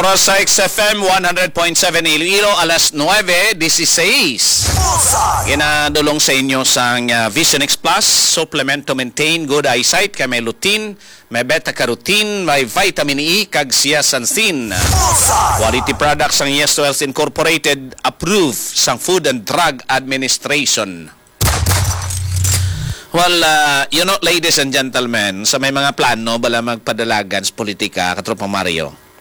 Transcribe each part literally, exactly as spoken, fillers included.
Oras sa X F M one hundred point seven Iloilo, alas nuebe dieciséis. Ginadulong sa inyo sang, ah, Vision X Plus, supplement to maintain good eyesight, kay may lutein, may beta carotene, may vitamin E, kag zeaxanthin. Quality products sang Yes Wells Incorporated, approved sang Food and Drug Administration. Well, uh, you know, ladies and gentlemen, sa may mga plano bala magpadalagan sa politika, Katropang Mario,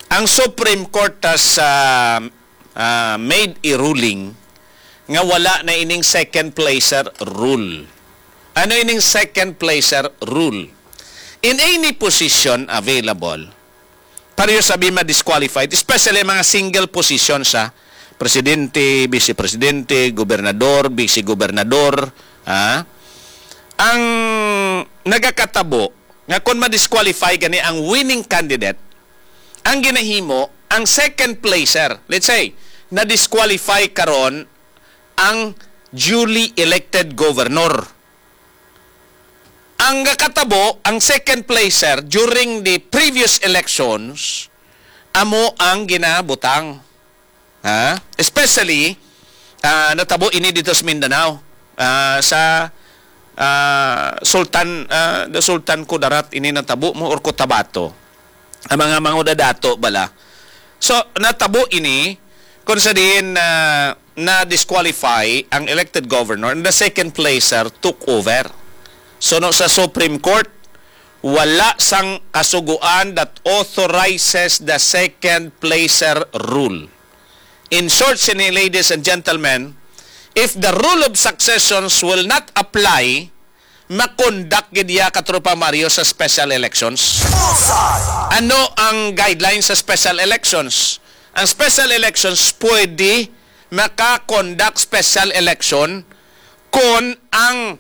ang Supreme Court has, uh, uh, made a ruling nga wala na ining second placer rule. Ano ining second placer rule? In any position available, pareho sabi ma-disqualified, especially mga single position sa presidente, vice presidente, gobernador, vice gobernador, ha? Ang nagakatabo nga kon ma-disqualify gani ang winning candidate, ang ginahimo, ang second placer, let's say, na-disqualify karon ang duly elected governor. Ang nakatabo, ang second placer during the previous elections, amo ang ginabutang. Ha? Especially, ah, natabo ini dito sa Mindanao. Ah, sa, ah, Sultan, ah, the Sultan Kudarat ini natabo mo or Cotabato. Ang mga mangudadato bala. So, natabo ini kung sa diin na na-disqualify ang elected governor and the second placer took over. So, no, sa Supreme Court, wala sang kasugoan that authorizes the second placer rule. In short, sini, ladies and gentlemen, if the rule of successions will not apply, makondak gid iya, Katropa Mario, sa special elections. Ano ang guidelines sa special elections? Ang special elections pwede maka-conduct special election kung ang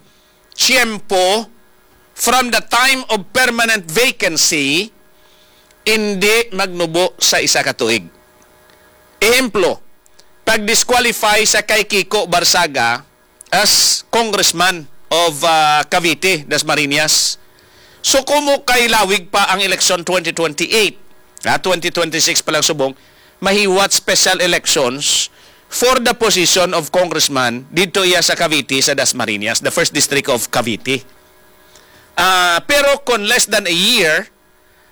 tiyempo from the time of permanent vacancy hindi magnubo sa isa ka tuig. Ehemplo, pag-disqualify sa kay Kiko Barzaga as congressman of, ah, Cavite, Dasmariñas. So, kumo kay lawig pa ang eleksyon twenty twenty-eight, ah, twenty twenty-six pa lang subong, mahiwat special elections for the position of congressman dito iya sa Cavite, sa Dasmariñas, the first district of Cavite. Ah, pero kung less than a year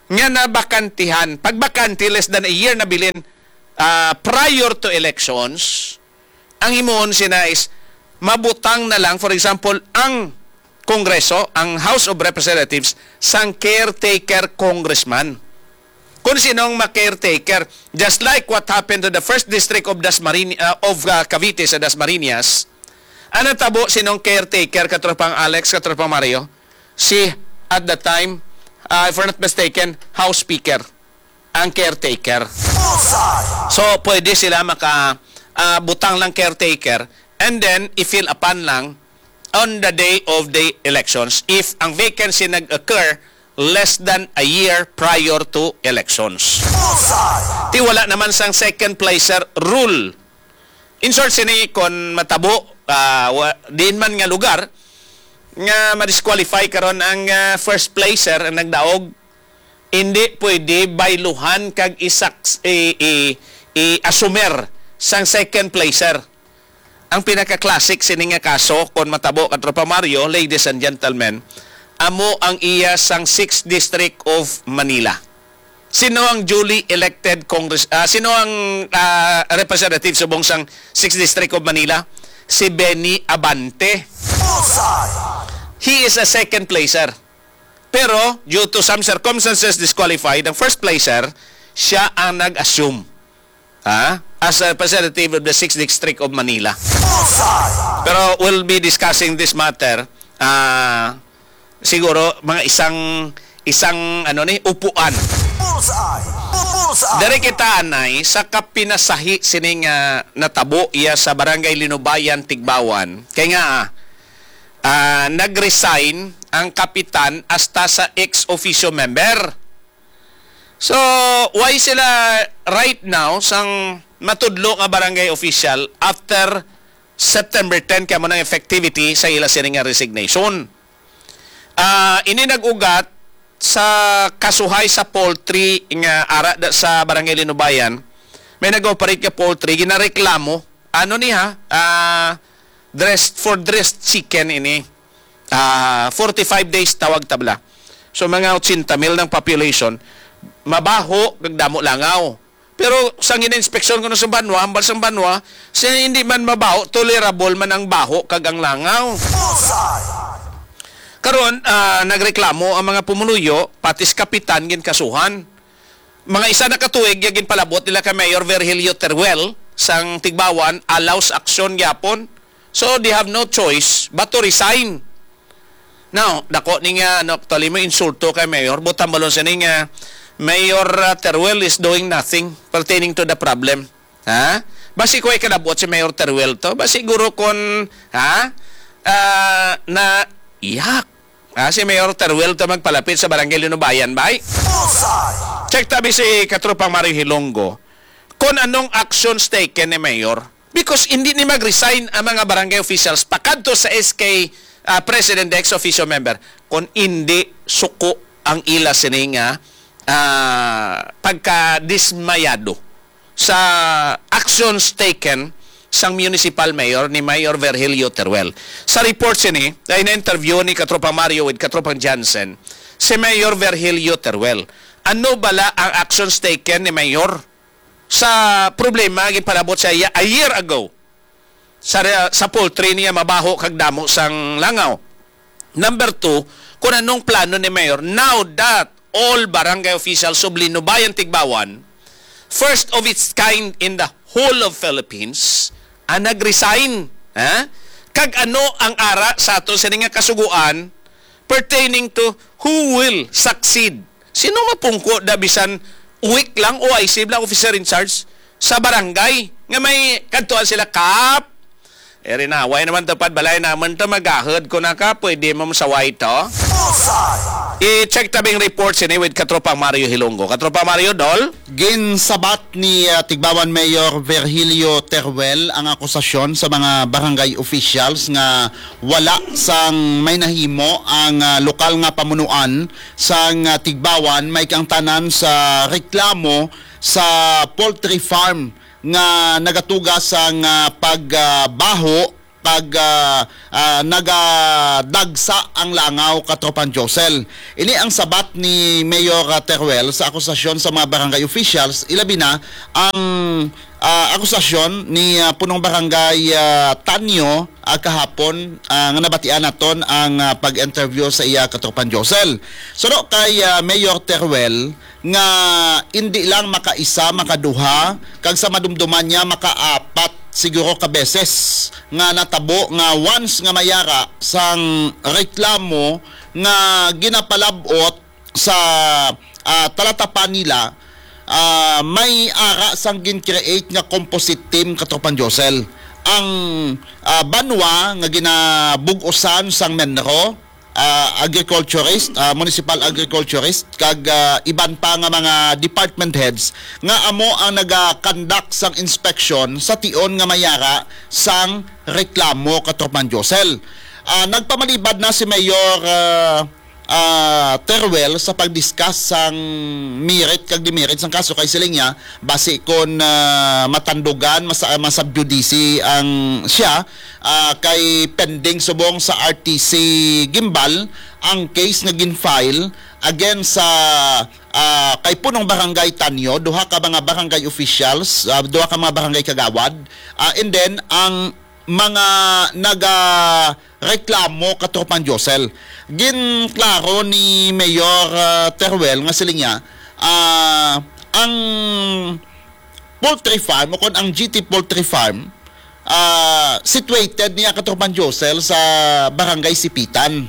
nga nabakantihan, pag bakante less than a year na bilin, ah, prior to elections, ang himuon sina is mabutang na lang, for example, ang Kongreso, ang House of Representatives, sang caretaker congressman. Kung sinong ma-caretaker, just like what happened to the first district of Dasmarin-, uh, of, uh, Cavite sa Dasmariñas, ang natabo sinong caretaker, Katropang Alex, Katropang Mario, si, at the time, uh, if I'm not mistaken, House Speaker ang caretaker. So, pwede sila maka, uh, butang lang caretaker and then i-fill upon lang on the day of the elections if ang vacancy nag-occur less than a year prior to elections. Ti wala naman sang second placer rule. In short, sini kon matabo, ah, wa-, diin man nga lugar nga ma-disqualify karon ang, ah, first placer ang nagdaog, hindi pwede bayluhan kag isaks-, i-, i-, i-assumer sang second placer. Ang pinaka-classic sini nga kaso, kon matabo, Katropa Mario, ladies and gentlemen, amo ang iya sang Sixth District of Manila. Sino ang duly elected Congress, ah, sino ang, ah, representative subong sang Sixth District of Manila? Si Benny Abante. He is a second placer. Pero, due to some circumstances, disqualified. Ang first placer, siya ang nag-assume. Ha? As a representative of the Sixth District of Manila. Pero we'll be discussing this matter, ah, siguro, mga isang, isang, ano ni, upuan. Diri kita, anay, sa kapinasahi sining, ah, natabo iya sa Barangay Linubayan, Tigbawan. Kay nga, ah, ah, nag-resign ang kapitan hasta sa ex officio member. So, why sila right now sang matudlo nga barangay official after September ten kay amo nang effectivity sa ila sini nga resignation? Ah, ini nag-ugat sa kasuhay sa poultry nga ara da sa Barangay Linubayan, may nag-operate nga poultry, ginareklamo. Ano ni ha? Ah, dressed, for dressed chicken ini. Ah, forty-five days tawag tabla. So, mga eighty mil ng population, mabaho, kag damo langaw. Pero sa gina-inspeksyon ko na sa banwa, hambal sa banwa, siya hindi man mabaho, tolerable man ang baho kag ang langaw. Bullseye! Karon, ah, nagreklamo ang mga pumuluyo, pati si kapitan ginkasuhan. Mga isa na ka tuig, ya ginpalabot nila kay Mayor Virgilio Teruel sang Tigbawan, allows action gyapon. So, they have no choice but to resign. Now, dako ni nga, ano, actually, mo insulto kay Mayor, butang balon sa ni nga, Mayor, uh, Teruel is doing nothing pertaining to the problem. Ha? Basi ko ay kadabot si Mayor Teruel to. Basi siguro kon, ha? Ah, na, iyak. Ah, si Mayor Teruel to magpalapit sa Barangay Linubayan, bay. Bullseye! Check tabi si Katropang Mario Hilonggo kung anong actions taken ni Mayor. Because hindi ni mag-resign ang mga barangay officials pakadto sa S K, ah, President ex officio member kung hindi suko ang ila sini nga, ah, pagkadismayado sa actions taken sang municipal mayor ni Mayor Virgilio Teruel. Sa report sini, ay na-interview ni Katropang Mario with Katropang Jansen, si Mayor Virgilio Teruel. Ano bala ang actions taken ni Mayor sa problema nga ginpalabot sa iya a year ago sa, sa poultry niya, mabaho kag damo sang langaw? Number two, kung anong plano ni Mayor now that all barangay officials of Linubayan, Tigbawan, first of its kind in the whole of Philippines, ang nag-resign, ha? Kag ano ang ara sa ato sa nga kasuguan pertaining to who will succeed? Sino mapungko da bisan weak lang o I C lang officer in charge sa barangay nga may kadtuan sila, Kap? Eri na, way naman tupad balay naman to, magahod ko na ka, pwede mo masaway to. Bullseye! I-check tabing report sini with Katropang Mario Hilonggo. Katropang Mario, Dol? Ginsabat ni, ah, Tigbawan Mayor Virgilio Teruel ang akusasyon sa mga barangay officials nga wala sang may nahimo ang, ah, lokal nga pamunuan sang, ah, Tigbawan, may kaangtanan sa reklamo sa poultry farm nga nagatuga sang, ah, pag, ah, baho pag, ah, ah, nagadagsa ang langaw, Katropang Josel. Ini ang sabat ni Mayor, ah, Teruel sa akusasyon sa mga barangay officials, ilabi na ang, ah, akusasyon ni, ah, Punong Barangay, ah, Tanyo, ah, kahapon, ah, nga nabatian naton ang, ah, pag-interview sa iya, Katropang Josel. Suno kay, ah, Mayor Teruel, nga indi lang makaisa, makaduha, kag sa madumduman niya makaapat siguro ka beses nga natabo nga once nga may ara sang reklamo nga ginapalab-ot sa, ah, talatapan nila, ah, may ara sang gin-create nga composite team, Katropang Josel. Ang, ah, banwa nga ginabug-usan sang MENRO, ah, agriculturist, ah, municipal agriculturist, kag, ah, iban pa nga mga department heads nga amo ang naga-conduct sang inspection sa tion nga may ara sang reklamo, Katropang Josel. Ah, nagpamalibad na si Mayor, ah, ah, Teruel sa pag-discuss sang merit kag demerit sang kaso kay siling niya, basi kon, ah, matandugan, masa-, masubjudice ang siya, ah, kay pending subong sa R T C Guimbal ang case nga gin-file against sa, ah, kay Punong Barangay Tanyo, duha ka mga barangay officials, ah, duha ka mga barangay kagawad, ah, and then ang mga nagareklamo, Katropang Josel. Ginklaro ni Mayor, ah, Teruel nga siling niya, ah, ang poultry farm o kon ang G T Poultry Farm, ah, situated niya, Katropang Josel, sa Barangay Sipitan.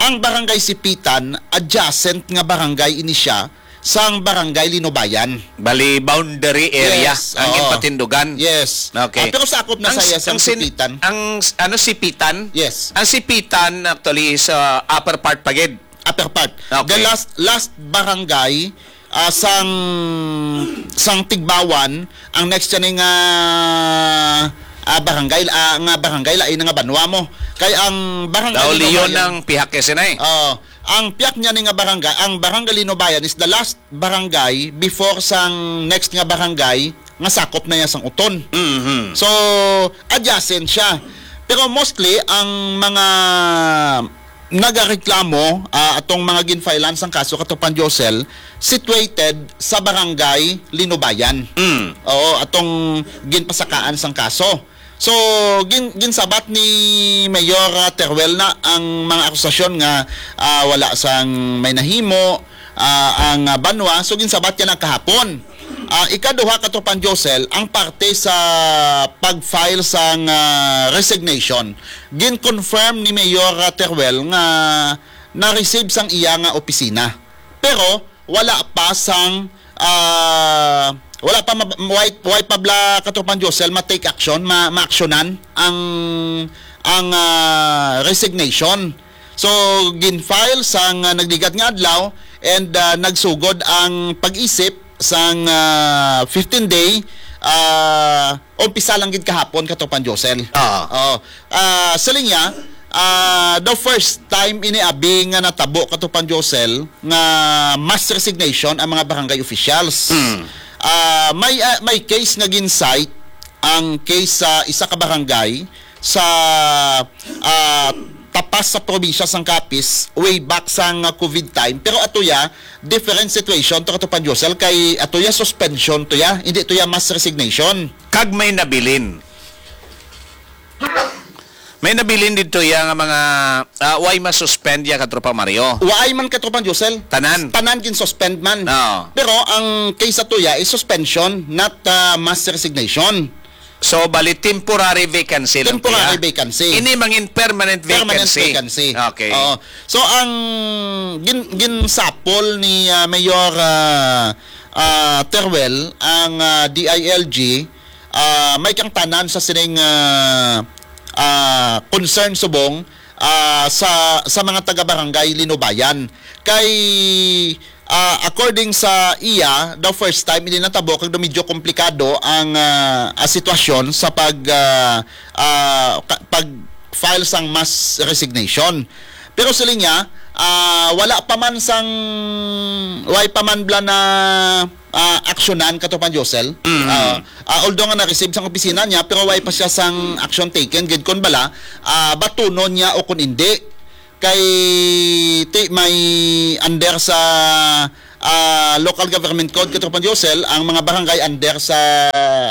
Ang Barangay Sipitan, adjacent nga barangay ini siya sang Barangay Linubayan. Bali, boundary area. Yes, ang oo. Impatindugan. Yes. Okay. Ah, pero sakop na ang, saya sa ang sin-, Sipitan. Ang s-, ano, Sipitan? Yes. Ang Sipitan, actually, is, uh, upper part pa gid. Upper part. Okay. The last, last barangay, ah, sang, sang Tigbawan, ang next siya ni nga, ah, barangay, ah, nga barangay, lain na nga banwa mo. Kay ang barangay Daw Linubayan, Leon ang pihak kasi na eh. Oo. Ang piyak niya ni nga barangay, ang Barangay Linubayan is the last barangay before sang next nga barangay nga sakop na niya sang Uton. Mhm. So, adjacent siya. Pero mostly, ang mga nagareklamo, ah, atong mga ginfilean sang kaso, Katropang Josel, situated sa Barangay Linubayan. Mm. Oo, atong ginpasakaan sang kaso. So, gin-, ginsabat ni Mayor, ah, Teruel na ang mga akusasyon nga, ah, wala sang may nahimo, ah, ang, ah, banwa. So, ginsabat niya na kahapon. Ah, ikaduha, Katropang Josel, ang parte sa pag-file sang, ah, resignation, gin-confirm ni Mayor, ah, Teruel nga na-receive sang iya nga opisina. Pero wala pa sang, ah, wala pa ma-, way, way pa bala, Katropang Josel, ma-take action, ma-, ma-actionan ang, ang, ah, resignation. So, gin-file sang, ah, nagligat nga adlaw and, ah, nagsugod ang pag-isip sang, ah, fifteen day, ah, umpisa lang gid kahapon, Katropang Josel. Ah. Oh, ah, sa linya, ah, the first time ini abi nga natabo, Katropang Josel, nga mass resignation ang mga barangay officials. Mm. Ah, may, ah, may case nga gin-cite ang case sa isa ka barangay sa, ah, tapas sa probinsya sang Capiz way back sang, ah, COVID time. Pero ato ya, different situation to, Katropang Josel, kay ato ya suspension to ya, hindi to ya mass resignation. Kag may nabilin. May nabilin didto ya nga mga, ah, way masuspend ya, Katropang Mario. Way man, Katropang Josel. Tanan. Tanan gin-suspend man. Oo. Pero ang case ato ya is suspension, not, ah, mass resignation. So, bali, temporary vacancy lang to ya. Temporary vacancy. Ini mangin permanent vacancy. Permanent vacancy. Okay. Oo. So, ang gin-, ginsapol ni, ah, Mayor, ah, ah, Teruel ang, ah, D I L G, ah, may kangtanan sa sining, ah, ah, concern subong, ah, sa, sa mga taga-barangay Linubayan. Kay, ah, according sa iya, the first time ini natabo kag medyo komplikado ang, ah, ah, sitwasyon sa pag, ah, ah, ka-, pag-file sang mass resignation. Pero siling niya, ah, wala pa man sang, way pa man bala na, ah, aksyonan, Katropang Josel. Mm. Ah, ah, although nga na-receive sang opisina niya, pero way pa siya sang action taken gid kon bala, ah, batunon niya o kon indi. Kay ti may under sa, ah, local government code, Katropang Josel, ang mga barangay under sa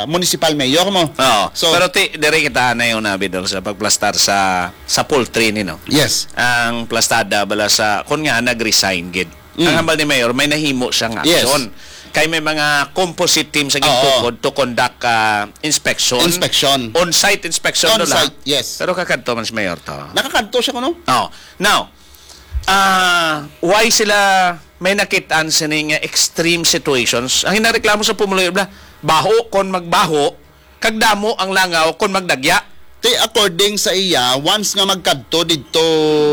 municipal mayor mo. Oo. So, pero ti, diri kita na yung nabidol sa pagplastar sa, sa poultry ni, no? Yes. Ang plastada bala sa, kun nga nag-resign gid. Mm. Ang hambal ni Mayor, may nahimo siyang Yes. aksyon. Kay may mga composite team sa Oo. gintukod to conduct, ah, inspection. Inspection. On-site inspection to la. On-site, yes. Pero kakadto man si Mayor to. Nakakadto siya kuno? Oh. Now, ah, why sila may nakitaan sini nga extreme situations? Ang hinareklamo sa pumuluyo bala, baho kon magbaho, kag damo ang langaw kon magdagya. Ti, according sa iya, once nga magkadto didto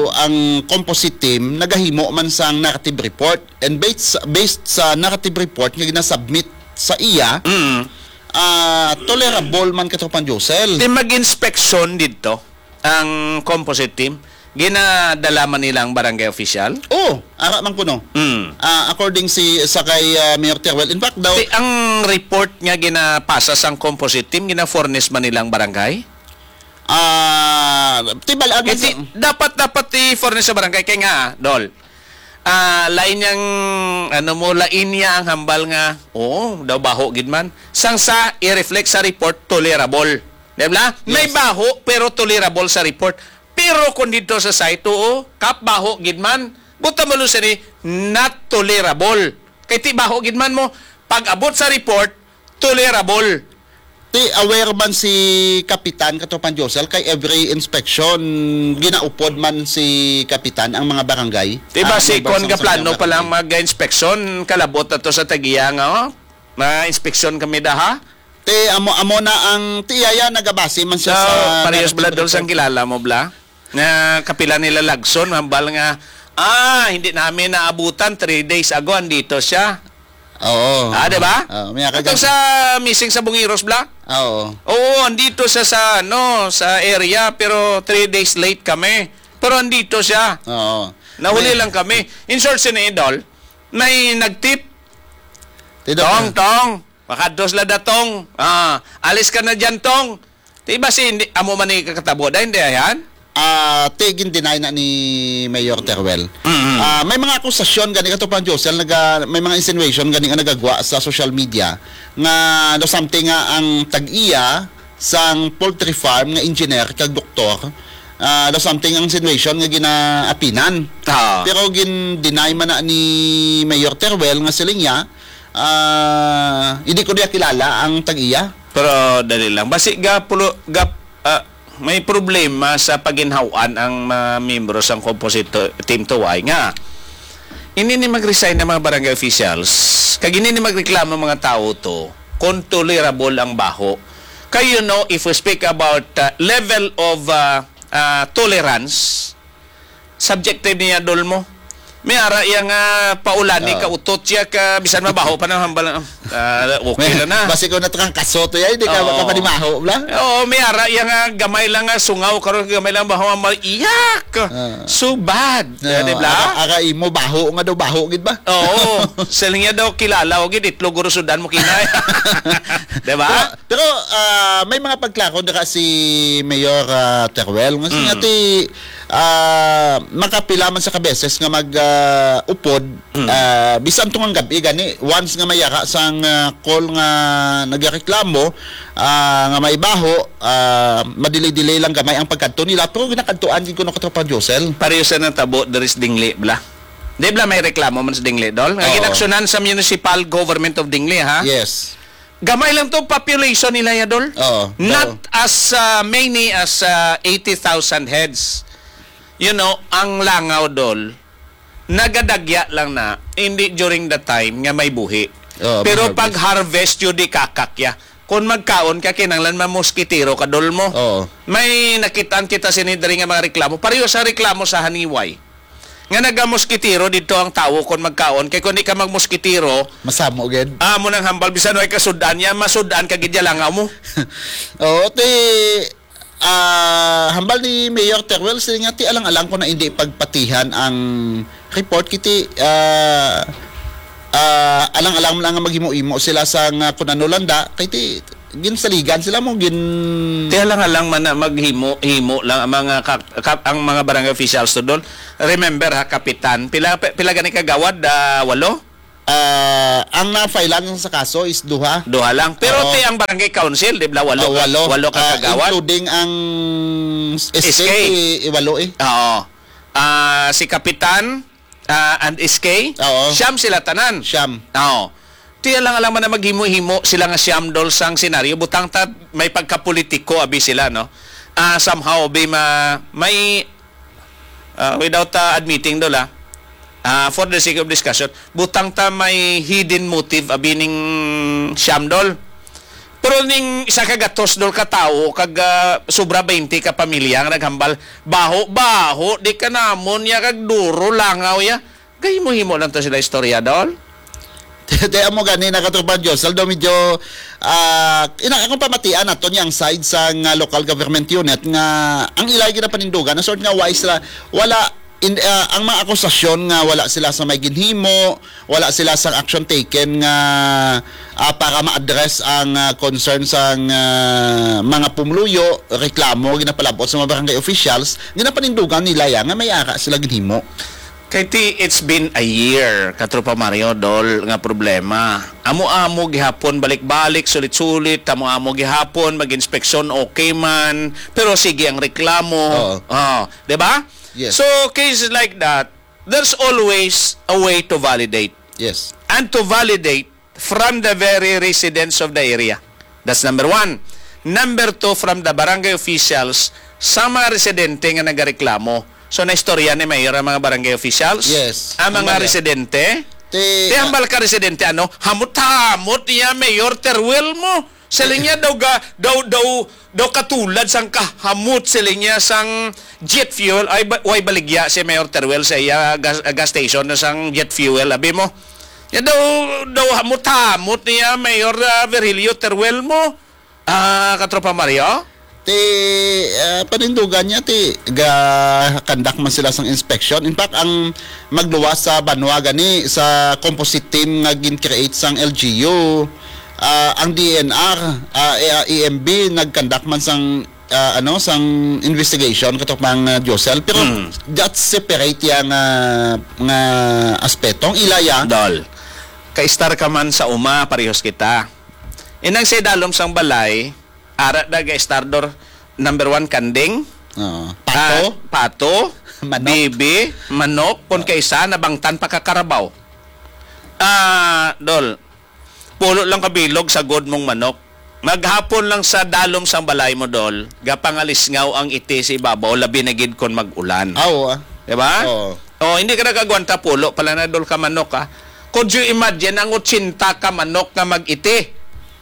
ang composite team, nagahimo man sang negative report. And based, based sa negative report nga ginasubmit sa iya, Mm. ah, tolerable man, Katropang Josel. Ti mag-inspeksyon didto ang composite team, ginadala man nila ang barangay official? Oh, ara man kuno. Mm. Ah, according si, sa kay, ah, Mayor Teruel. In fact daw, Ti, ang report nga ginapasa sang composite team, gina-furnish man nila ang barangay? Ah, ti bal-, ah, Iti, dapat, dapat i-furnish sa barangay. Kay nga, Dol, ah, lain yang, ano mo, lain niya ang hambal nga, oo, daw baho gid man. Sang sa, i-reflect sa report, tolerable. Di ba? May Yes. baho, pero tolerable sa report. Pero kung dito sa site, oo, kap baho gid man, buta mo siya ni not tolerable. Kay ti baho gid man mo, pag-abot sa report, tolerable. Ti aware man si Kapitan, Katropang Josel, kay every inspection, ginaupod man si Kapitan ang mga barangay. Di ba Ah, si member Kon sang Kaplano Assembly of pa lang Barangay. mag-inspection, kalabot na to sa tagiya nga, oh, ma-inspection kami daha? Ti amo, amo na ang ti iya, nagabase man siya So, sa parehas negative bala doon report. sang kilala mo, bla? Nga kapila nila Lagson, hambal nga, "Ah, hindi namin naabutan, three days ago, andito siya." Oo. Ah, di ba? Oo, may Itong nakagan- sa missing sa Bungiros, bla? Oo. Oo, andito siya sa, ano, sa area, pero three days late kami. Pero andito siya. Oo. Nahuli May lang kami. In short, sini Idol, may nagtip. Tidot Tong, na. Tong, makadto sila datong. Ah, alis ka na dyan, Tong. Di ba si, hindi, amo man ni kakatabo? Dahil hindi, ayan? Ah, ti, gin-deny na ni Mayor Teruel. Mm-hmm. Ah, may mga akusasyon gani, Katropang Josel, naga-, may mga insinuation gani nga nagagwa sa social media nga daw something nga ang tag-iya sang poultry farm nga engineer kag doktor, ah, daw something ang insinuation nga ginaapinan. Ah. Pero gin-deny man na ni Mayor Teruel nga siling niya, ah, hindi ko niya kilala ang tag-iya. Pero dali lang. Basi ga pulo, ga, ah, may problema sa paginhawan ang mga miyembro sang composite to-, team Tuway nga ini ni mag-resign ang mga barangay officials, kag ini ni magreklamo ang mga tawo to kung tolerable ang baho. Kay, you know, if we speak about, uh, level of, uh, uh, tolerance, subjective niya, Dol, mo. May ara iya nga paulani, Oo. Kautot siya ka, bisan mabaho pa na hambal, ah, okay May, lang na. Basi ko natrangkaso to, ya, hindi ka Oo. makapanimaho, bla? Oo, may ara iya nga gamay lang nga sungaw, karon gamay lang baho, hambal, iyak! Ah. So bad. Ah, di ba? Ara, ara imo, baho nga daw, baho, gid ba? Oo. Siling niya daw, kilala, o gid, itlog, gurusudan mo, kinay. Di ba? Pero, pero, ah, may mga pagklaro dira si Mayor, ah, Teruel. Nga Mm. singati, ah, makapila man sa kabeses nga mag, ah, upod, Mm. ah, bisan tungod gab-i gani, once nga mayara sang, ah, call nga nagareklamo, ah, nga may baho, ah, madili-dili lang gamay ang pagkadto nila, pero ginakadtuan gid kuno, Katropang Josel. Pareho sa natabo diri sa Dingli, bla. Di bla may reklamo man sa Dingli, Dol? Nga Oo. ginaksyonan sa Municipal Government of Dingli, ha? Yes. Gamay lang to population nila ya, Dol. Oo. Not Oo. as, uh, many as, uh, eighty thousand heads. You know, ang langaw, Dol, nagadagya lang na, hindi during the time nga may buhi. Oo, Pero mag-harvest. Pag harvest, yun di kakakya. Kung magkaon ka, kinanglan mamoskitero ka, Dol, mo. Oo. May nakitaan kita sini diri nga mga reklamo. Pareho sa reklamo sa Haniway. Nga nagamoskitero dito ang tawo kon magkaon, kay kung di ka magmoskitero, Masamo gid. Amo nang hambal, bisan way kasud-an niya, masud-an ka gid ya langaw mo. Oo, ti, ah, hambal ni Mayor Teruel, sila nga ti alang-alang ko na hindi pagpatihan ang report, kiti, ah, ah, alang-alang lang nga maghimo-himo sila sa nga kun ano landa, kay ti, ginsaligan sila mo, gin- Kaya lang, lang man na maghimo-himo lang ang mga ka-, ka-, ang mga barangay officials to, Dol. Remember ha, kapitan, pila, pila gani kagawad? Ah, walo? Ah, ang na-filean sa kaso is duha. Duha lang. Pero Oo. ti ang barangay council, di ba, walo Ah, ka, walo. walo ka Ah, kagawad? Including ang S K, S K. i-, i-, walo eh. Oo. Ah, si kapitan, ah, and S K, Oo. siyam sila tanan. Siyam. Oo. Ti alang-alang man na maghimo-himo sila nga siyam, Dol, sang senaryo. Butang ta may pagkapolitiko abi sila, no? Ah, somehow, abi ma-, may, ah, without, ah, admitting, Dol, ah, ah, for the sake of discussion, butang ta may hidden motive abi ning siyam, Dol. Pero ning isa ka gatos, Dol, ka tawo, kag, ah, sobra twenty ka pamilya nga naghambal, "Baho, baho, di ka namon ya, kag duro langaw ya." Gahimo-himo lang to sila istorya, Dol. Te, amo gani na, Katropang Josel, although medyo, ah, ina, akong pamatian nato niya ang side sa nga local government unit nga ang ilay ginapanindugan, na sort nga wise sila, wala, in, ah, ang mga akusasyon nga wala sila sa may ginhimo, wala sila sa action taken nga, ah, para ma-address ang, ah, concern sa, ah, mga pumuluyo, reklamo, ginapalabot sa mga barangay officials, ginapanindugan nila ya nga may ara sila ginhimo. Kay ti, it's been a year, Katropa Mario, Dol, nga problema. Amo-amo gihapon, balik-balik, sulit-sulit, amo-amo gihapon, mag-inspeksyon, okay man, pero sige ang reklamo. Oo. Oh, di ba? Yes. So, cases like that, there's always a way to validate. Yes. And to validate from the very residents of the area. That's number one. Number two, from the barangay officials, sa mga residente nga nagareklamo. So, naistorya ni Mayor ang mga barangay officials? Yes. Ang mga Hambal yan. residente? Ti-, Ti hambal ka residente, ano? Hamot-hamot niya, Mayor Teruel mo. Siling niya daw ga-, daw, daw, daw katulad sang kahamot, siling niya, sang jet fuel. Ay, ba-, way baligya si Mayor Teruel sa iya gas, gas station na sang jet fuel, abi mo. Ya daw, daw hamot-hamot niya, Mayor, ah, Virgilio Teruel mo. Ah, Katropa Mario? Ti, ah, panindugan niya, ti, ga-conduct man sila sang inspection. In fact, ang magluwas sa banwa gani sa composite team nga gin-create sang L G U, ah, ang D N R, ah, eh, ah, E M B nag-conduct man sang, ah, ano, sang investigation, katropang, ah, Josel. Pero Mm. that's separate ya nga, nga aspeto. Ang ila ya, Dol, ka-star ka man sa uma, parehas kita. Inang sa idalom sang balay, ara da ga-star, Dol, number one, kanding. Oo. Pato? Ah, pato, Manok? Bibi, manok, kon Oo. kaysa nabangtan pa ka karabaw. Ah, Dol, pulo lang kabilog sa god mong manok. Maghapon lang sa dalom sang balay mo, Dol, gapangalisngaw ang iti sa ibabaw, labi na gid kon mag-ulan. Ah, oo, ah. Di ba? Oo. Oh, hindi ka nakagwanta pulo pala na, Dol, ka manok, ha? Could you imagine ang ochenta ka manok nga mag-iti?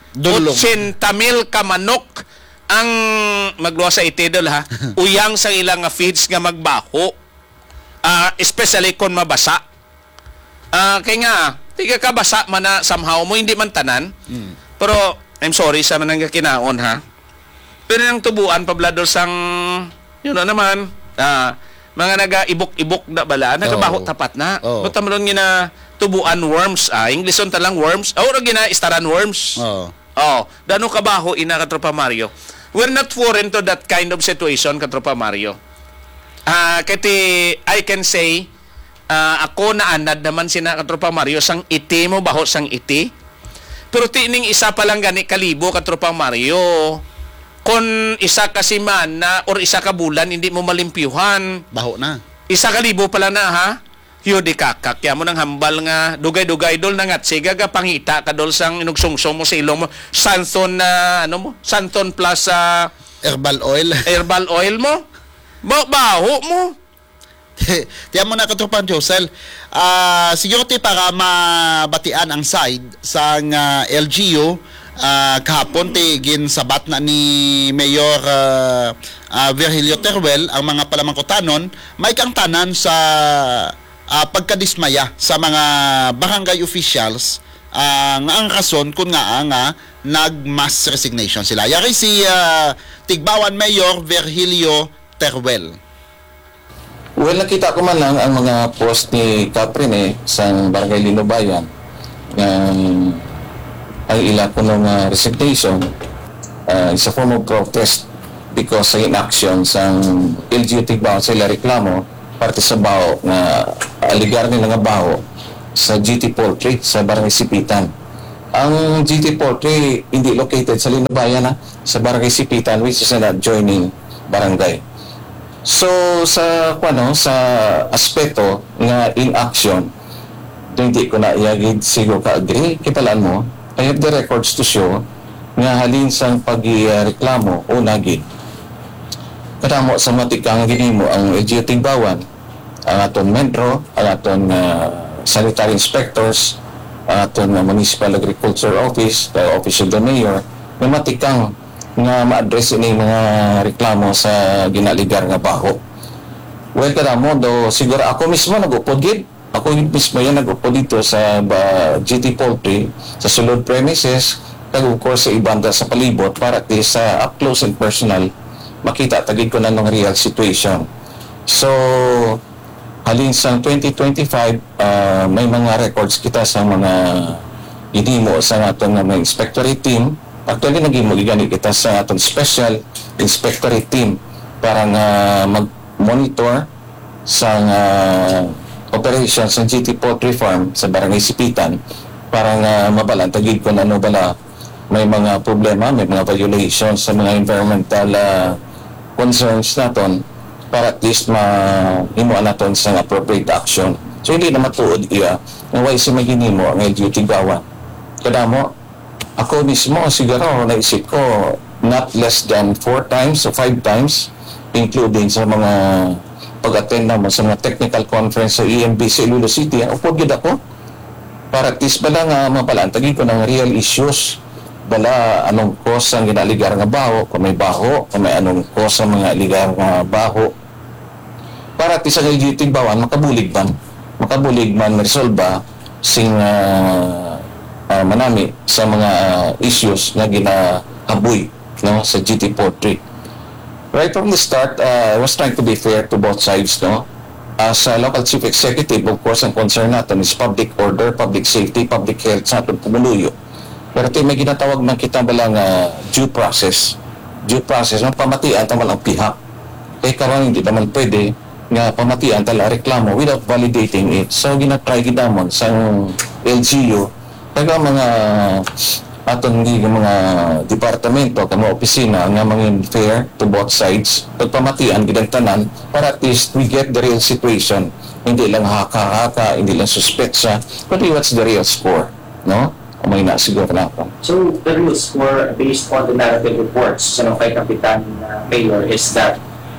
Dulong. Ochenta mil ka manok ang magluwas sa iti, Dol, ha? Uyang sa ila nga feeds nga magbaho. Ah, especially kon mabasa. Ah, kay nga, tiga kabasa man na somehow mo, hindi man tanan. Mm. Pero, I'm sorry sa manang kinaon, ha? Pero ang tubuan, pablador sang, you know naman, ah, mga naga-ibok-ibok na bala, nagabaho Oo. tapat na. Oo. Ba't naman nga na tubuan worms, ah? Englishon ta lang worms. Ah, ora gina-istaran worms. Oo. Oh, dano kabaho ina, Katropa Mario. We're not foreign to that kind of situation, Katropa Mario. Ah, kay ti, I can say, ah, ako naanad naman sina, Katropa Mario, sang iti mo, baho sang iti. Pero tining isa pa lang gani kalibo, Katropa Mario. Kon isa ka semana or isa ka bulan, hindi mo malimpyuhan. Baho na. Isa ka libo pala na, ha? Yo, di kakak. Kaya mo nang hambal nga dugay-dugay, Dol, nangat siga ka pangita ka, Dol, sang inugsungso mo sa ilong mo. Santon na, ano mo? Santon plus, ah, Herbal oil. Herbal oil mo? Ba-, baho mo? Tiyan mo na, Katropang Josel. Ah, siguro ti para mabatian ang side sang, ah, L G U, ah, kahapon ti ginsabat na ni Mayor, ah, ah, Virgilio Teruel ang mga palamangkutanon, may kang tanan sa, ah, pagkadismaya sa mga barangay officials, ah, nga ang rason kun ngaa nga nag-mass resignation sila. Yari si, ah, Tigbawan Mayor Virgilio Teruel. Well, nakita ko man lang ang mga post ni Kap Rene sang Barangay Linubayan nga ang ila kuno nga resignation, ah, is a form of protest because sa inaction sang L G U Tigbawan sa ila reklamo parte sa baho nga aligar nila nga baho sa G T Poultry sa Barangay Sipitan. Ang G T Poultry hindi located sa Linubayan, ha, sa Barangay Sipitan, which is an adjoining barangay. So, sa, kuwano, sa aspeto nga inaction, hindi ko na iya gid siguro ka-agree. Kibalaan mo, I have the records to show nga halin sang pagreklamo, una gid, kadamo sa matikang ginhimo ang L G U Tigbawan, ang aton MENRO, ang aton, ah, sanitary inspectors, ang aton, ah, Municipal Agriculture Office, the Office of the Mayor, nga matikang nga ma-address ining mga reklamo sa ginaligar nga baho. Well, kadamo do, siguro ako mismo nag-upod gid. Ako mismo yan nag-upod dito sa ba, G T Poultry, sa sulod premises, kag of course sa ibanda sa palibot para at least sa up close and personal, makita ta gid kung anong real situation. So, halin sa twenty twenty-five, ah, may mga records kita sa mga ginhimo sa aton nga mga inspectorate team. Actually, naghimo gid gani kita sa aton special inspectorate team para nga mag-monitor sa, ah, operation sa G T Poultry Farm sa Barangay Sipitan para nga mabalaan ta gid kung ano bala may mga problema, may mga violations sa mga environmental, ah, concerns naton para at least ma-, himuan naton sa appropriate action. So, hindi na matuod iya nga way si maginimo ang L G U Tigbawan. Kadamo, ako mismo, siguro, naisip ko, not less than four times o five times, including sa mga pag-attend namo sa mga technical conference sa E M B sa Iloilo City, ah, upod gid ako. Para at least bala nga mabalaan ta gid kung ang real issues. Bala, anong cause ang ginaaligar nga baho, kung may baho, kung may anong cause ang mga aligar nga baho. Para at least ang L G U Tigbawan, makabulig man. Makabulig man resolba sing, ah, ah, manami sa mga, ah, issues nga ginahaboy, no, sa G T Poultry. Right from the start, uh, I was trying to be fair to both sides, no? As a local chief executive, of course, ang concern naton is public order, public safety, public health sa aton pumuluyo. Pero ti may ginatawag man kita bala nga due process. Due process, no? Pamatian ta man ang pihak. Kay karon, hindi naman pwede nga pamatian ta lang reklamo without validating it. So, ginatry gid namon sang L G U, kag ang mga aton nga mga departamento, kag mga opisina nga mangin fair to both sides, pagpamatian gid ang tanan para at least we get the real situation. Hindi lang haka-haka, hindi lang suspetsa, kundi what's the real score, no? Amay na siguro na ako. So, the real score based on the narrative reports sa kay Kapitan uh, Mayor is that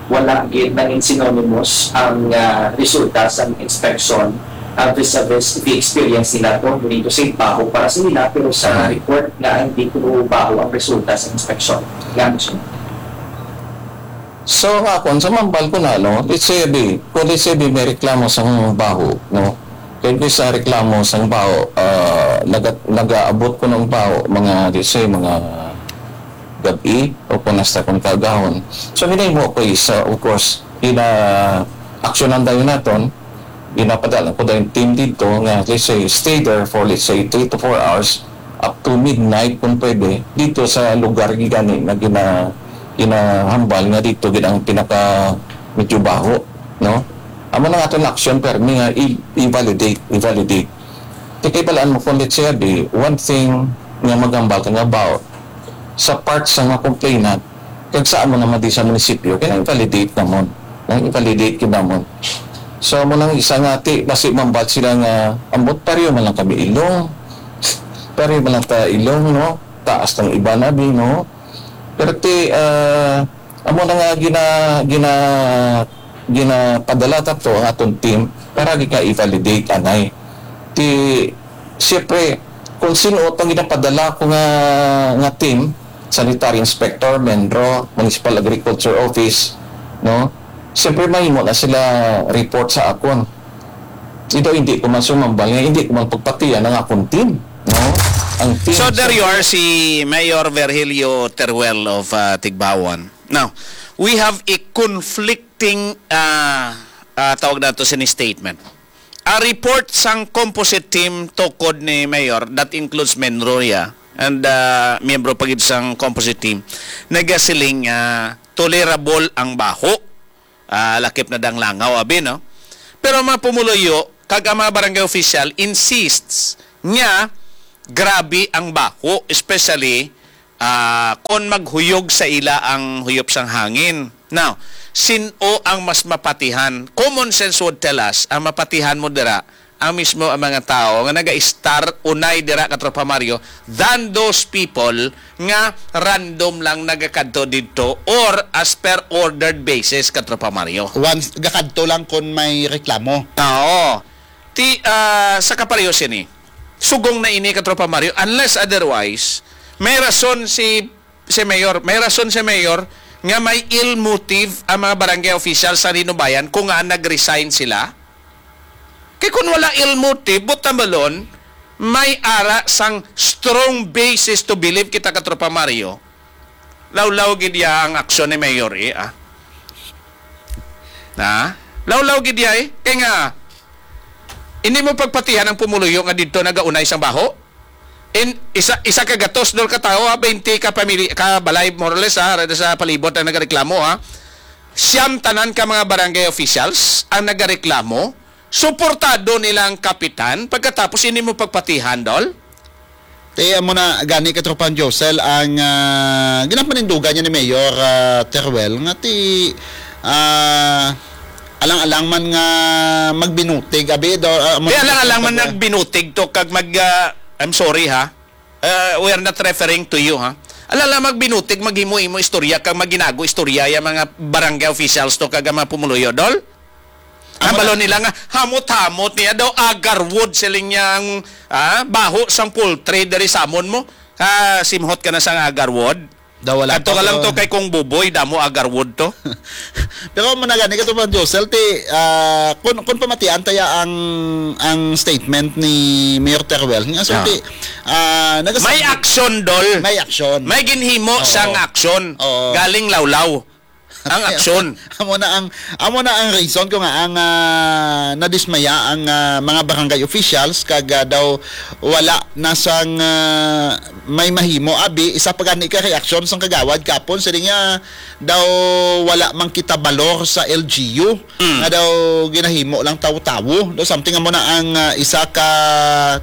wala gid nangin synonymous ang uh, resulta sa inspection uh, vis-a-vis the experience nila to, dito sa baho para sa nila, pero sa Mhm. report nga hindi ko baho ang resulta sa inspection. Nga mo siya. So, nga akon, sa mambal ko na, no, let's say, abi, kung let's say, abi, may reklamo sa baho, no, kaya ko sa reklamo sa baho, ah, naga, nagaabot ko ng baho, mga, let's say, mga gabi, o kung nasta kong kagahon. So, ginahimo ko is, uh, of course, ina-actionan tayo naton, ginapadala ko daw yung team dito nga, let's say, stay there for, let's say, three to four hours, up to midnight kung pwede, dito sa lugar gigani na gina, ginahambal nga dito gid ang pinaka medyo baho, no? Amo na nga aton action permi nga i, i-validate, i-validate. Kay balaan mo kung let's say, abi, one thing nga maghambal ka nga baho sa part sa nga complainant, kag sa amo naman di sa munisipyo, kaya i-validate namon. Nang i-validate gid namon. So, amo nang isa nga ti, basi mambal sila nga, ambot pareho man lang kami ilong. Pareho man lang ta ilong, no? Taas ng iba na, bi, no? Pero ti, ah, amo na nga gina, gina, ginapadala ta to ang aton team para gid nga i-validate anay. Ti, siyempre, kung sino tong ginapadala ko nga, nga team, sanitary inspector, menro, municipal agriculture office, no? Siyempre, mahimo na sila report sa akon. Ito, hindi ko man sumambal nga, hindi ko man pagpatiyan ang akong team, no? Ang team, So there you are, si Mayor Virgilio Teruel of uh, Tigbawon. Now, we have a conflicting uh, uh, tawag nato sini statement. A report sang composite team tukod ni Mayor, that includes Menroya and uh, miyembro pa gid sang composite team, nagasiling uh, tolerable ang baho. Ah, lakip na dang langaw, abi, no? Pero ang mga pumuluyo kag ang mga barangay official insists nga grabe ang baho, especially ah, kon maghuyog sa ila ang huyop sang hangin. Now, sin-o ang mas mapatihan? Common sense would tell us, ang mapatihan mo dira, ang mismo ang mga tao nga naga-star unay dira, Katropa Mario, than those people nga random lang nagakadto didto or as per ordered basis, Katropa Mario. Once, gakadto lang kung may reklamo. Oo. Ti, ah, sa kapareho sini, sugong na ini, Katropa Mario, unless otherwise, may rason si, si Mayor, may rason si Mayor nga may ill motive ang mga barangay officials sa Linubayan kung nga nag-resign sila. Kay kung wala ill motive, buta balon, may ara sang strong basis to believe kita, Katropa Mario. Lawlaw gid ya ang aksyon ni Mayor, eh, ah. Na? Lawlaw gid ya, eh. Kay nga, hindi mo pagpatihan ang pumuluyo nga didto nagaunay sang baho. In, isa, isa ka gatos, dol, ka tawo, ha, twenty ka pamili-, ka balay, more or less, ha, rada sa palibot ang nagareklamo, ha. Siyam tanan ka mga barangay officials ang nagareklamo, suportado nila ang kapitan, pagkatapos hindi mo pagpatihan, dol? Ti amo na gani, Katropang Josel, ang ah, ginapanindugan niya ni Mayor ah, Teruel nga ti ah, alang-alang man nga magbinutig, abi, do, ah, amo Di na- alang-alang man nagbinutig to kag mag ah, I'm sorry ha. Uh, we are not referring to you ha. Alang-alang magbinutig, maghimo-himo istorya kag maginago istorya ya mga barangay officials to kag ang mga pumuluyo, dol. Ang Amo na- balon nila nga hamot-hamot niya daw agarwood, siling niya ang ah, baho sang poultry diri sa amon mo. Ah, simhot ka na sang agarwood. Daw wala Kadto pa, ka lang pero- to kay Kong Buboy, damo agarwood to. Pero mo na gani, Katropang Josel, ti ah, kun, kun pamatian taya ang ang statement ni Mayor Teruel nga so Ah. ti ah, nagas- May action, dol. May action. May ginhimo Oo. sang action. Oo. Galing lawlaw. Ang aksyon. Amo na ang, amo na ang reason ko nga ang, ah, nadismaya ang, ah, mga barangay officials kag, ah, daw wala na sang, ah, may mahimo abi. Isa pa gani ka reaksyon sang kagawad kapon, sila nga daw wala man kita balor sa L G U. Mm. Nga daw ginahimo lang tawo-tawo. Daw something amo na ang, ah, isa ka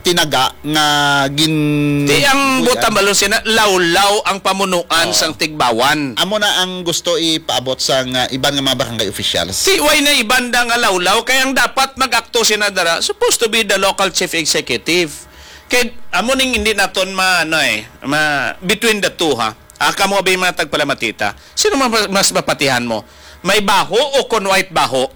tinaga nga gin- Di ang butan balon sina lawlaw ang pamunuan Oo. sang Tigbawan. Amo na ang gusto ipaabot sang, ah, iban nga mga barangay officials. Si way na iban da nga lawlaw kay ang dapat mag-akto sina dara supposed to be the local chief executive. Kay amo ning hindi naton ma, ano eh, ma, between the two ha. Ah, kamo abi mga tagpalamatita. Sino ma-, mas mapatihan mo? May baho o kon white baho?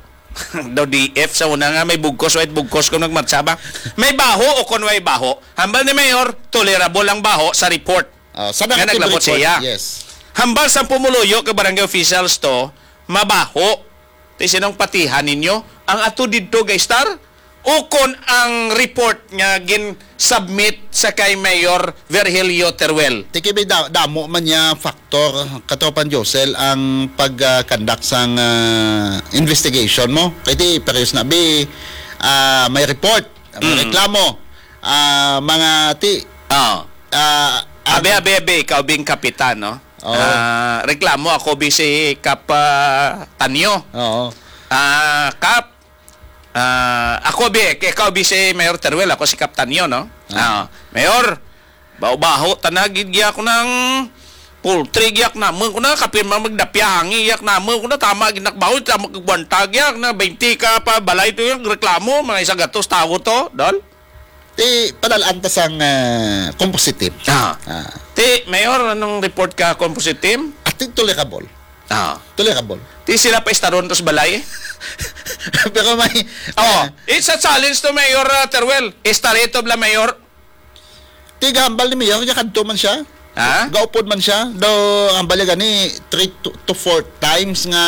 Daw D F sa una nga may bugkos, white bugkos kung nagmartsa ba? May baho o kon way baho? Hambal ni Mayor, tolerable ang baho sa report. Ah, sa nga negative naglabot report, siya. Yes. Hambal sa pumuluyo ka barangay officials to, mabaho. Ti sinong patihan ninyo? Ang ato didto, guys, star? Ukon ang report nga gin-submit sa kay Mayor Virgilio Teruel? Ti kay may da-, damo man niya factor, Katropan Josel, ang pag, ah, conduct sang, ah, investigation mo. Kay ti, parehas na, bi, ah, may report, may Mm. reklamo, ah, mga ti, Ah. ah, Abi, ang abi, abi, ikaw bing kapitan, no? Oo. Ah, reklamo ako bi si Kap, ah, Tanyo. Oo. Ah, Kap, Ah, ako bi, ikaw bi si Mayor Teruel, ako si Kap Tanyo, no? Ah. Ah, Mayor, baho-baho, tanag gid giyak nang poultry, giyak naman ko na, kapin man magdapya hangi, giyak naman ko na, tama, ginakbaho, tama, kagwanta, giyak na, twenty ka pa, balay to yung reklamo, mga isa gatos, tawo to, dol? Ti, padalaan ta sang, ah, composite team. Ah. Ah. Ti, Mayor, anong report ka, composite team? Ating tolerable. Ah. Tolerable. Di sila pa istaron to sa balay? Pero may, Oh, ah, it's a challenge to Mayor, uh, Teruel. Istarito bla, Mayor. Tigahambal ni Mayor, niya kadto man siya. Ha? Gaupod man siya. Daw, ang bali gani, three to, to four times nga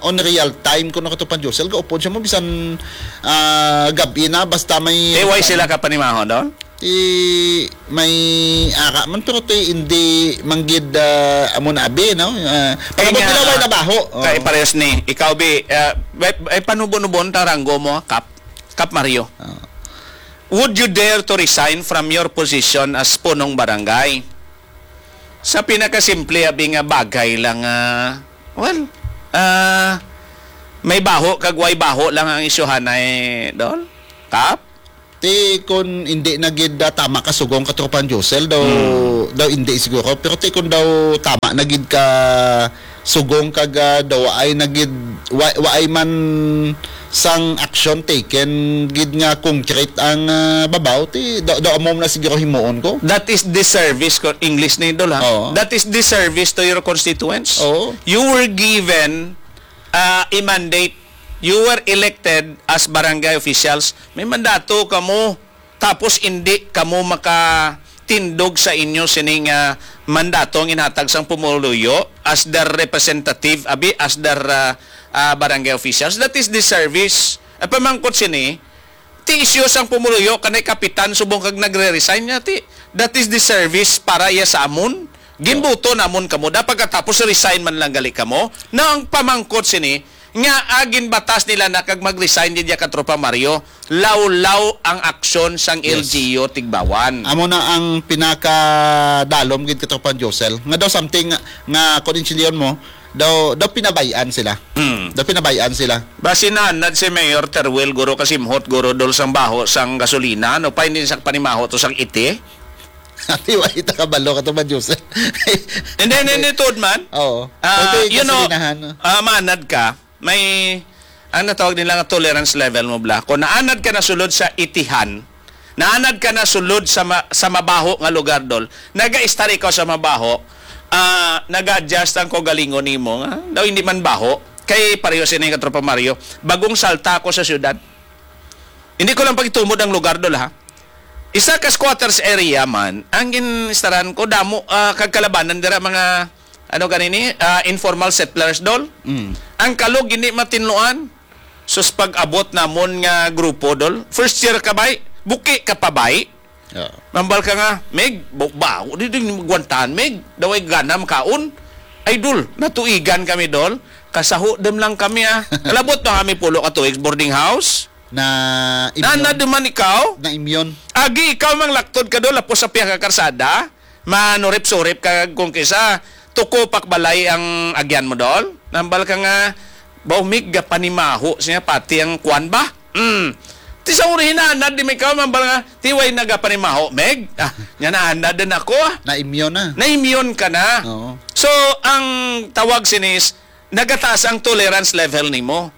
on real time kung nakatupan Josel, gaupod siya mo, bisan, ah, gabi na, basta may Eh, why sila ka panimaho doon? Ti may ara man, pero ti hindi manggid, ah, amo na abi, no? Ah, Eh, palabot nga, nila, way nabaho. Oo. Kay parehas ni, ikaw, bi, ah, ay, ay, panubo-nubon ta ranggo mo, Kap, Kap Mario. Ah. Would you dare to resign from your position as punong barangay? Sa pinakasimple, abi nga bagay lang, ah, well, ah, may baho kag way baho lang ang isyuhanay, Dol? Kap? Ti kun hindi na gid, ah, tama ka sugong ka, Tropang Josel, daw, Hmm. daw hindi siguro. Pero ti kun daw tama na gid ka sugong kag, ah, daw waay na gid, wa-, waay man sang action taken gid nga concrete ang, ah, babaw, ti daw, daw amo na siguro himuon ko. That is disservice ko, English ni Idol, ha? Oo. That is disservice to your constituents. Oo. You were given, ah, a mandate. You were elected as barangay officials. May mandato kamo. Tapos hindi kamo makatindog sa inyo sining, ah, mandato ang inhatag sang pumuluyo as their representative, abi, as their, ah, ah, barangay officials. That is disservice. Ang pamangkot sini, ti isyu sang pumuluyo kanay kapitan subong kag nagre-resign niya, ti, that is disservice para iya sa amon. Ginbuto namon kamo. Dapat katapos resign man lang gali kamo. Na ang pamangkot sini, nga, ah, ginbatas nila na kag mag-resign din ka, Tropa Mario, lawlaw ang aksyon sang Yes. L G U Tigbawan. Amo na ang pinakadalom gid, Katropa Josel. Nga daw something nga, nga kung intindihan mo, daw, daw pinabayaan sila. Hmm. Daw pinabayaan sila. Basi nanad si Mayor Teruel, guro, kasimhot, guro, dol sang baho sang gasolina, no? Pa hindi sa panimaho to sang iti. Ati, wa ita kabalo ka to ba, Joseph? Hindi, hindi, hindi, tuod man. Oo. Ah, Pwede you know, gasolinahan, no? ah, manad ka, may, ang natawag nila nga tolerance level mo, bla. Kung naanad ka na sulod sa itihan, naanad ka na sulod sa ma-, sa mabaho nga lugar, dol, naga-estar ikaw sa mabaho, ah, naga-adjust ang kaugalingon nimo, nga daw hindi man baho. Kay pareho sini nga Tropa Mario, bagong salta ako sa syudad. Hindi ko lang pagitumod ang lugar, dol, ha? Isa ka squatters area man, ang gin-estaran ko, damo, ah, kag kalabanan dira mga, ano ganini, ah, informal settlers, dol. Mm. Ang kalog, hindi matinluan. Sus, pag-abot namon nga grupo, dol. First year ka, bay? Buki ka pa, bay? Oo. Nambal ka nga, Mig, ba-, bago di din magwantahan, Mig. Daway gana makaon. Ay, dol, natuigan kami, dol. Kasaho dem lang kami, ah. Kalabot na kami pulo ka tuig boarding house. Na Na, imyon. na duman ikaw? Na imyon. Agi ikaw mang laktod ka do, lapos sa pihak ka karsada. Manurip-surip ka kung kisa tuko pak balay ang agyan mo, dol. Nambal ka nga, baw mig gapanimaho siya, pati ang kwan ba? Mm. Ti sa uri hinanad di may ikaw, mambal nga, ti way nagapanimaho, Meg? Ah, nya naanad din ako, ah. Na imyon na. Na imyon ka na. Oo. So, ang tawag sinis, nagataas ang tolerance level nimo.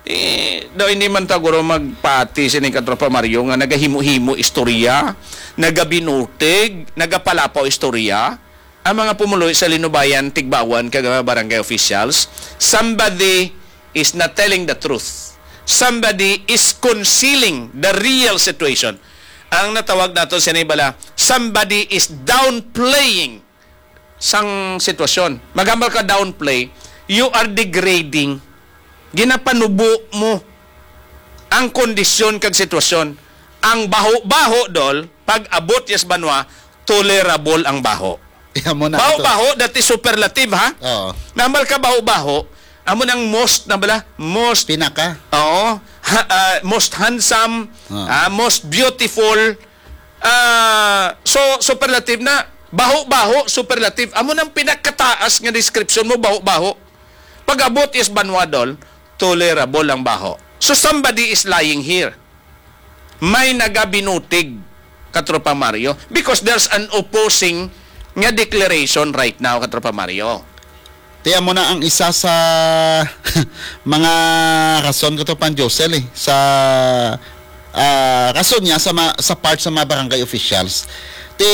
Eh, daw hindi man ta guro magpati sini katropa Mario nga nagahimo-himo istorya, nagabinutig, nagapalapaw istorya, ang mga pumuluy sa Linubayan, Tigbawan, kag mga barangay officials, somebody is not telling the truth. Somebody is concealing the real situation. Ang natawag nato sini bala, somebody is downplaying sang sitwasyon. Maghambal ka downplay, you are degrading. Ginapanubo mo ang kondisyon kag sitwasyon. Ang baho-baho, dol, pag abot yes banwa, tolerable ang baho. Amo na to. Baho-baho, dati superlative, ha? Oo. Nambal ka baho-baho, amo nang most, na bala? Most Pinaka. Oo. Ha, ah, most handsome, Ah. ah, most beautiful, Ah, so, superlative na. Baho-baho, superlative. Amo nang pinakataas nga description mo, baho-baho. Pag-abot is banwa, dol, tolerable ang baho. So, somebody is lying here. May nagabinutig, Katropa Mario, because there's an opposing nga declaration right now, Katropa Mario. Ti amo na ang isa sa mga rason, Katropang Josel, eh, sa, ah, rason niya sa ma-, sa part sa mga barangay officials. Ti,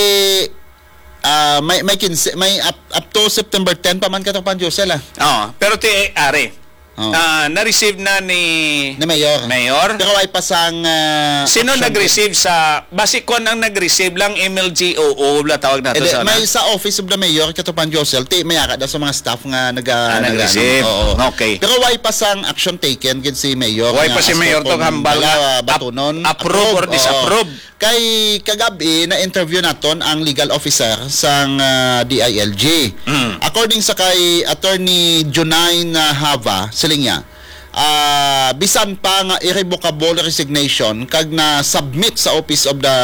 ah, may, may kinse, may up, up to September ten pa man, Katropang Josel, ah. Oo, pero ti, are, Oo. ah, na-receive na ni Ni Mayor. Mayor? Pero way pa sang, ah, Sino action nag-receive sa, basi kon ang nag-receive lang, M L G O O, bala tawag nato Hindi, sa, may ano? Sa Office of the Mayor, Katropang Josel, ti, may ara daw sa mga staff nga naga-, Ah, naga-, nag-receive. Oo. Okay. Pero way pa sang action taken gid si Mayor Way nga pa si as Mayor for tong kung hambal bala, nga ah, ap-, batunon, approve or approve. Oo. Disapprove. Kay kagabi, na-interview naton ang legal officer sang, ah, D I L G. Mm. According sa kay Attorney Junine, ah, Hava, siling niya, ah, bisan pa nga irrevocable resignation kag na-submit sa Office of the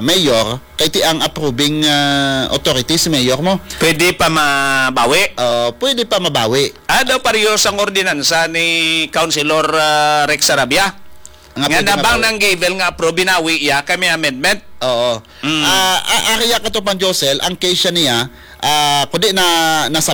Mayor, kay ti ang approving, ah, authority si Mayor mo. Pwede pa mabawi? Ah, pwede pa mabawi. Ah, daw pareho sang ordinansa ni Councilor, ah, Rex Sarabia. Nga Nga pwede nabang mabawi. Nang given nga approve, binawi iya, kay may amendment. Oo. Mm. Ah, a-, ari ya, Katropang Josel, ang case siya niya, ah, kundi na, nasab-,